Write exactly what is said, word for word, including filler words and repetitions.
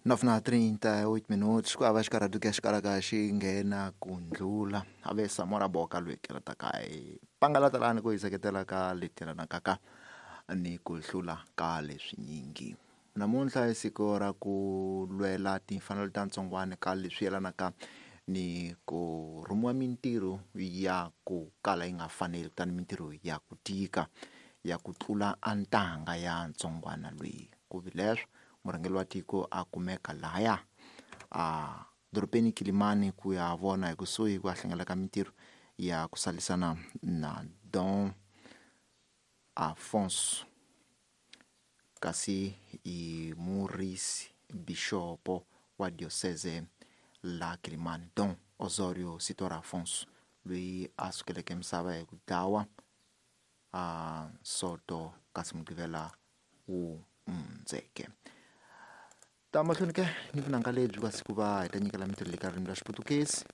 Nove trinta e oito minutos, ku hava xikarhati ku ya xi kalaka xi nghena ku ndlula a ve Samora Boka loyi keletaka hi pangalatalani ku hi seketela ka leti yelanaka ka ni ku hlula ka leswinyingi. Namuntlha i siku ra ku lwela timfanelo ta ntsongwana ka leswi yelanaka ni ku rhumiwa mintirho ya ku kala yi nga faneli kutani mintirho ya ku tika ya ku tlula a ntanga ya ntsongwana loyi. Ku vi leswo murhangeri wa tiko a kumeka lahaya a dorobeni Kilimani ku ya vona hi kusuhi ku ya hlangela ka mintirho ya ku salisana na Don Afonso kasi i murisi bixopo wa diocese la Kilimani Don Osorio Sitora Afonso loyi a sukeleke misava hi ku dlawa a Soto kasi Mugqivela wu hundzeke. Ta mahlweni ke ni vunanga lebyi kasi ku va hi ta nyikela mintirho leyi ka ririmi ra Xiputukezi.